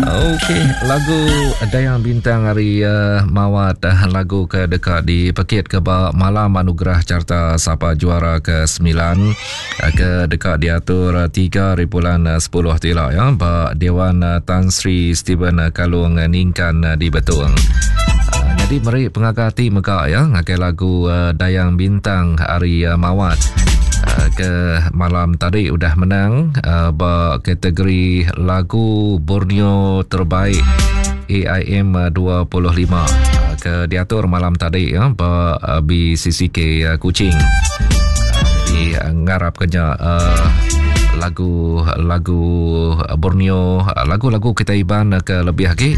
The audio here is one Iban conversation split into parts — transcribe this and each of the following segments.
Okey, lagu Dayang Bintang ari uh, Mawat uh, lagu ke deka dipekit ke ba malam anugerah carta sapa juara ke 9 uh, ke deka diatur 3 hari bulan 10 tila ya ba Dewan Tan Sri Stephen Kalung Ningkan di Betong. Jadi meri pengaga ati mega ya ngagai lagu Dayang Bintang ari Mawat ke malam tadi udah menang ba kategori lagu Borneo terbaik AIM 25 ke diatur malam tadi ya ba BCCK Kuching. Jadi ngarap kenya lagu lagu Borneo lagu-lagu kita Iban ke lebih agi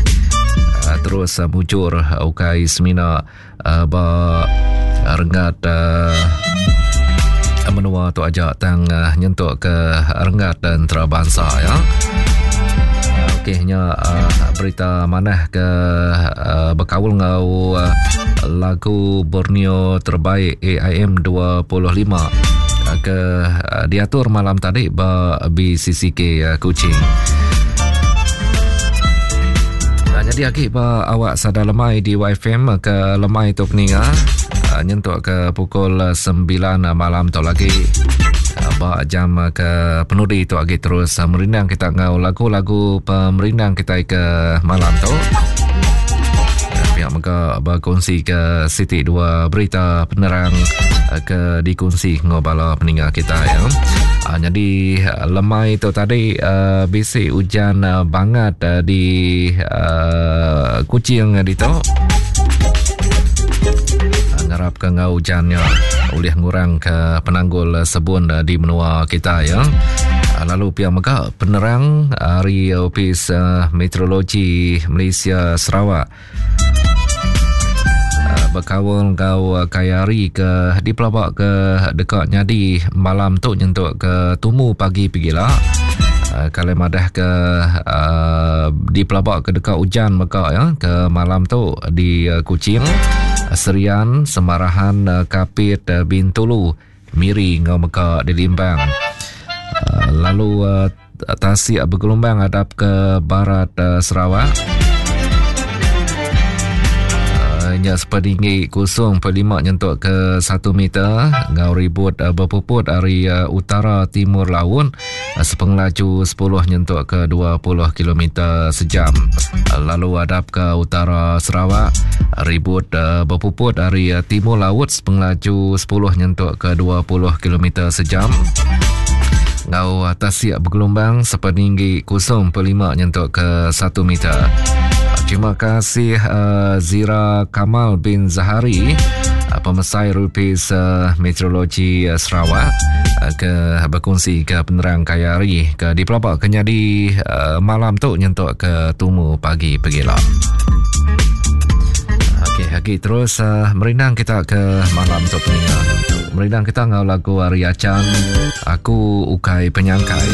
terus mujur ukai semina ba renggat menua tu aja tang nyentuk ke renggat antarabangsa ya. Okey nya berita manah ke bekaul enggau lagu Borneo terbaik AIM 25 ke diatur malam tadi ba BCCK Kuching. Jadi agi ba awak sada lemai di YFM ke lemai tu peninga nyentuk ke pukul 9 malam tu lagi ba jam ke penudi tu agi terus merindang kita enggau lagu-lagu pemerindang kita ke malam tu. Pihak mega berkongsi ke siti dua berita penerang ke dikongsi enggau bala peninga kita ya. Jadi lemai tu tadi bisi ujan bangat di Kuching ditu. Ngarap ke enggau ujannya ulih ngurang ke penanggul sebun di menua kita ya. Lalu pihak mega penerang ari Opis Meteorologi Malaysia Sarawak bekaul enggau kaya hari ke dipelaba ke deka nyadi malam tu nyentuk ke tumu pagi pegila. Kalau madah ke dipelaba ke deka ujan mega ya ke malam tu di Kuching, Serian, Semarahan, Kapit, Bintulu, Miri enggau mega di Limbang. Lalu tasik begelumbang hadap ke barat Sarawak. Nya sepeninggi 0.5 nyentuk ke 1 meter enggau ribut bepuput ari utara timur laut sepengelaju 10 nyentuk ke 20 kilometer sejam. Lalu hadap ke utara Sarawak ribut bepuput ari timur laut Pengelaju 10 nyentuk ke 20 kilometer sejam. Ngau tasik bergelombang sepeninggi 0.5 nyentuk ke 1 meter. Terima kasih uh, Zira Kamal bin Zahari uh, pemesai Rupis uh, Meteorologi uh, Sarawak uh, ke berkongsi ke penerang kaya hari ke dipelabak ke nyadi uh, malam tu nyentuk ke tumu pagi pegila. Okey, agi terus uh, merindang kita ke malam tu peninga. Merindang kita ngau lagu Ari Achan, Aku Ukai Penyangkai.